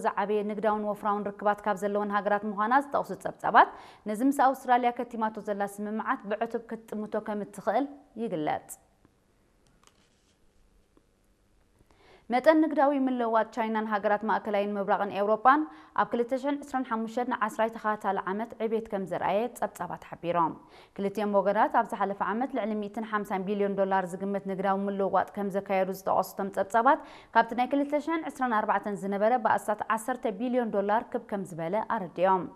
ዝዓበየ ንግዳውን ወፍራውን ርክባት ካብ ዘለወን ሃገራት ምዃና ዝጠቕሱ ጸብጻባት፣ ነዚ ምስ ኣውስትራልያ ከቲማቶ ዘላ ስምምዓት ብዕቱብ ክትጥምቶ ከም እትኽእል ይግለጽ። መጠን ንግዳዊ ምልውዋጥ ቻይናን ሃገራት ማእከላይን ምብራቕን ኤውሮጳን ኣብ ክልተ ሽሕን ዕስራን ሓሙሽተን ንዓስራይ ተኸታታሊ ዓመት ዕቤት ከም ዘርኣየ ጸብጻባት ሓቢሮም። ክልቲኦም ወገናት ኣብ ዝሓለፈ ዓመት ልዕሊ ሚእትን ሓምሳን ቢልዮን ዶላር ዝግመት ንግዳዊ ምልውዋጥ ከም ዘካየዱ ዝጠቐሱ እቶም ጸብጻባት፣ ካብቲ ናይ ክልተ ሽሕን ዕስራን ኣርባዕተን ዝነበረ ብኣስታት ዓሰርተ ቢልዮን ዶላር ክብ ከም ዝበለ ኣረዲኦም።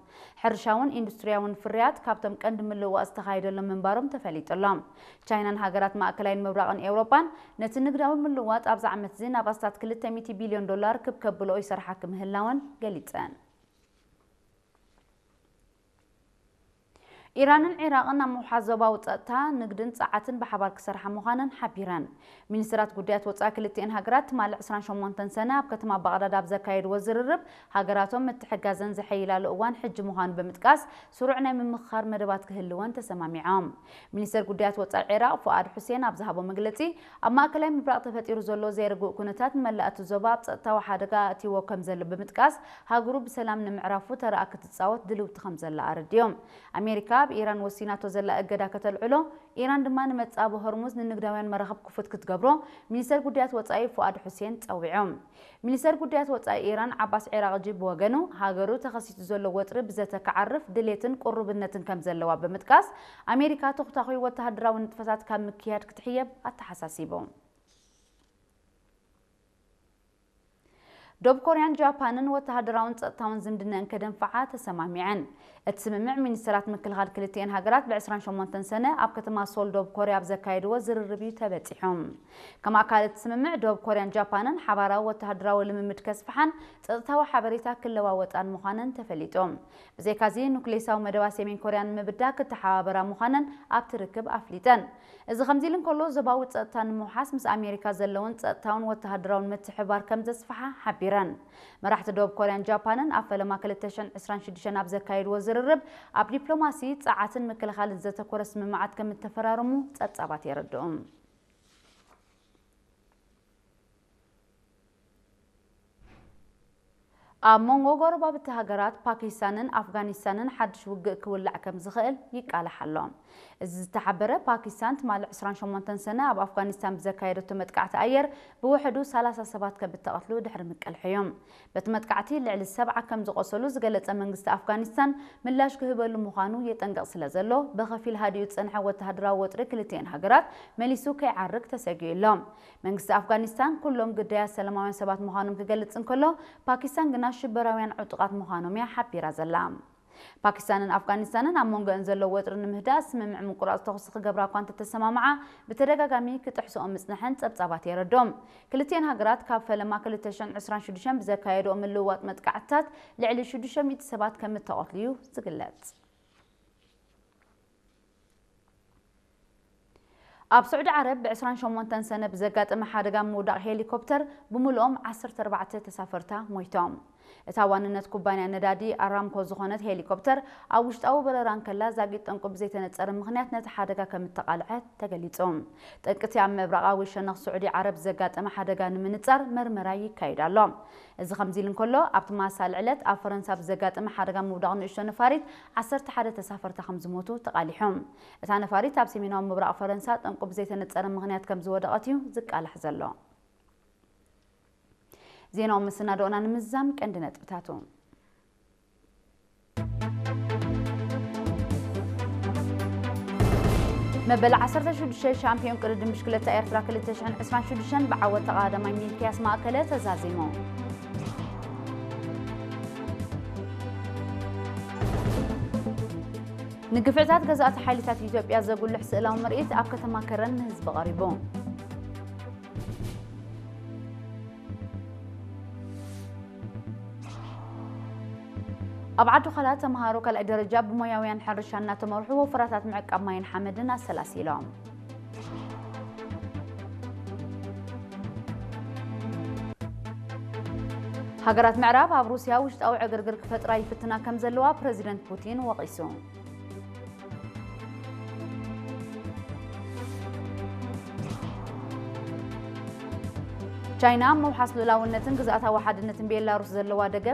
ሕርሻውን ኢንዱስትሪያውን ፍርያት ካብቶም ቀንዲ ምልውዋጥ ዝተኻየደሎም ምንባሮም ተፈሊጡ ኣሎ። ቻይናን ሃገራት ማእከላይን ምብራቕን ኤውሮጳን ነቲ ንግዳዊ ምልውዋጥ ኣብዚ ዓመት እዚ ናብ ኣስታት ክልተ ሚእቲ ቢልዮን ዶላር ክብ ከብልኦ ይሰርሓ ክምህላወን ገሊጸን። ኢራንን ዒራቕን ኣብ ምውሓስ ዞባዊ ጸጥታ፣ ንግድን ጸዓትን ብሓባር ክሰርሓ ምዃነን ሓቢረን። ሚኒስትራት ጉዳያት ወጻኢ ክልቲኤን ሃገራት ትማሊ ዕስራን ሸሞንተን ሰነ ኣብ ከተማ ባቕዳድ ኣብ ዘካየድዎ ዝርርብ፣ ሃገራቶም ምትሕጋዘን ዘሐይላሉ እዋን ሕጂ ምዃኑ ብምጥቃስ፣ ስሩዕ ናይ ምምኽኻር መደባት ክህልወን ተሰማሚዖም። ሚኒስተር ጉዳያት ወጻኢ ዒራቕ ፉኣድ ሑሴን ኣብ ዝሃቦ መግለጺ፣ ኣብ ማእከላይ ምብራቕ ተፈጢሩ ዘሎ ዘይርጉእ ኩነታት ንመላእ እቲ ዞባ ኣብ ጸጥታዊ ሓደጋ ኣእትይዎ ከም ዘሎ ብምጥቃስ፣ ሃገሩ ብሰላም ንምዕራፉ ተራኣ ክትጻወት ድልውቲ ከም ዘላ ኣረዲኦም። ኣሜሪካ ኣብ ኢራን ወሲናቶ ዘላ እገዳ ከተልዕሎ፣ ኢራን ድማ ንመጻኢ ሆርሙዝ ንንግዳውያን መራኽብ ክፉት ክትገብሮ ሚኒስተር ጉዳያት ወጻኢ ፉኣድ ሑሴን ጸዊዖም። ሚኒስተር ጉዳያት ወጻኢ ኢራን ዓባስ ዒራቕጂ ብወገኑ፣ ሃገሩ ተኸሲቱ ዘሎ ወጥሪ ብዘተ ክዓርፍ ድሌትን ቅሩብነትን ከም ዘለዋ ብምጥቃስ፣ ኣሜሪካ ተኹታኹይ ወተሃደራዊ ንጥፈታት ካብ ምክያድ ክትሕየብ ኣተሓሳሲቡ። ደቡብ ኮርያን ጃፓንን ወተሃደራውን ጸጥታውን ዝምድነአን ከደንፍዓ ተሰማሚዐን። እቲ ስምምዕ ሚኒስተራት ምክልኻል ክልቲኤን ሃገራት ብዕስራን ሸሞንተን ሰነ ኣብ ከተማ ሶል ደቡብ ኮርያ ኣብ ዘካየድዎ ዝርርብ እዩ ተበጺሑ። ከም ኣካል እቲ ስምምዕ፣ ደቡብ ኮርያን ጃፓንን ሓባራዊ ወተሃደራዊ ልምምድ ከስፍሓን ጸጥታዊ ሓበሬታ ክለዋወጣን ምዃነን ተፈሊጡ። ብዘይካዚ፣ ኑክሌሳዊ መደባት ሰሜን ኮርያ ንምብዳህ ክተሓባበራ ምዃነን ኣብቲ ርክብ ኣፍሊጠን። እዚ ከምዚ ኢሉ እንከሎ፣ ዞባዊ ጸጥታ ንምውሓስ ምስ ኣሜሪካ ዘለውን ጸጥታውን ወተሃደራውን ምትሕብባር ከም ዘስፍሓ ሓቢረን። መራሕቲ ደቡብ ኮርያን ጃፓንን ኣብ ፈለማ ክልተ ሽሕን ዕስራን ሽዱሽተን ኣብ ዘካየድዎ ዝርርብ፣ ኣብ ዲፕሎማሲ፣ ጸዓትን ምክልኻልን ዘተኮረ ስምምዓት ከም እተፈራረሙ ጸብጻባት የረድኡ። ኣብ መንጎ ጎረባብቲ ሃገራት ፓኪስታንን ኣፍጋኒስታንን ሓድሽ ውግእ ክውላዕ ከም ዝኽእል ይቃላሕ ኣሎ። እዚ ዝተሓበረ፣ ፓኪስታን ትማሊ ዕስራን ሸሞንተን ሰነ ኣብ ኣፍጋኒስታን ብዘካየደቶ መጥቃዕቲ ኣየር ብውሕዱ ሰላሳ ሰባት ከም እተቐትሉ ድሕሪ ምቅልሑ እዩ። በቲ መጥቃዕቲ ልዕሊ ሰብዓ ከም ዝቖሰሉ ዝገለጸ መንግስቲ ኣፍጋኒስታን፣ ምላሽ ክህበሉ ምዃኑ የጠንቅቕ ስለ ዘሎ፣ ብኸፊል ሃዲኡ ዝጸንሐ ወተሃደራዊ ወጥሪ ክልቲኤን ሃገራት መሊሱ ከይዓርግ ተሰጊኡ ኣሎ። መንግስቲ ኣፍጋኒስታን ኩሎም ግዳያት ሰላማውያን ሰባት ምዃኖም ክገልጽ እንከሎ፣ ፓኪስታን ግና ሽበራውያን ዕጡቓት ምዃኖም እያ ሓቢራ ዘላ። ፓኪስታንን ኣፍጋኒስታንን ኣብ መንጎአን ዘሎ ወጥሪ ንምህዳእ ስምምዕ ምቁራጽ ተኹሲ ክገብራ እኳ እንተተሰማምዓ፣ ብተደጋጋሚ ክጥሕስኦ ምጽንሐን ጸብጻባት የረድኦም። ክልቲኤን ሃገራት ካብ ፈለማ ክልተ ሽሕን ዕስራን ሽዱሽተን ብዘካየድኦ ምልውዋጥ መጥቃዕትታት ልዕሊ ሽዱሽተ ሚእቲ ሰባት ከም እተቐትሉ እዩ ዝግለጽ። ኣብ ስዑዲ ዓረብ ብዕስራን ሸሞንተን ሰነ ብዘጋጠመ ሓደጋ ምውዳቕ ሄሊኮፕተር ብምልኦም ዓሰርተ ኣርባዕተ ተሳፈርታ ሞይቶም። እታ ዋንነት ኩባንያ ነዳዲ ኣራምኮ ዝኾነት ሄሊኮፕተር ኣብ ውሽጣዊ በረራ እንከላ ዛጊት ጠንቁ ብዘይተነጸረ ምኽንያት ነቲ ሓደጋ ከም እተቓልዐ ተገሊጹ። ጠንቂ እቲ ኣብ ምብራቓዊ ሸነኽ ስዑዲ ዓረብ ዘጋጠመ ሓደጋ ንምንጻር መርመራ ይካየድ ኣሎ። እዚ ከምዚ ኢሉ እንከሎ፣ ኣብቲ ማሳል ዕለት ኣብ ፈረንሳ ብዘጋጠመ ሓደጋ ምውዳቕ ንእሽቶ ነፋሪት ዓሰርተ ሓደ ተሳፈርታ ከም ዝሞቱ ተቓሊሑ። እታ ነፋሪት ኣብ ሰሜናዊ ምብራቕ ፈረንሳ ጠንቁ ብዘይተነጸረ ምኽንያት ከም ዝወደቐት እዩ ዝቃላሕ ዘሎ። ዜናዊ መሰናድኦና ንምዝዛም ቀንዲ ነጥብታቱ። መበል ዓሰርተ ሽዱሽተ ሻምፒዮን ቅድድም ብሽክለታ ኤርትራ ክልተ ሽሕን ዕስራን ሽዱሽተን ብዓወት ተቐዳዳማይ ሚልክያስ ማእከለ ተዛዚሙ። ንግፍዕታት ገዛእቲ ሓይልታት ኢትዮጵያ ዘጉልሕ ስእላዊ ምርኢት ኣብ ከተማ ከረን ንህዝቢ ቀሪቡ። ኣብ ዓዲ ዃላ ተምሃሮ ካልኣይ ደረጃ ብሞያውያን ሕርሻ እናተመርሑ ወፈራታት ምዕቃብ ማይን ሓመድን ኣሰላሲሎም። ሃገራት ምዕራብ ኣብ ሩስያ ውሽጣዊ ዕግርግር ክፈጥራ ይፍትና ከም ዘለዋ ፕረዚደንት ፑቲን ወቒሱ። ቻይና ኣብ ምውሓስ ልኡላውነትን ግዝኣታዊ ሓድነትን ቤላሩስ ዘለዋ ደገፍ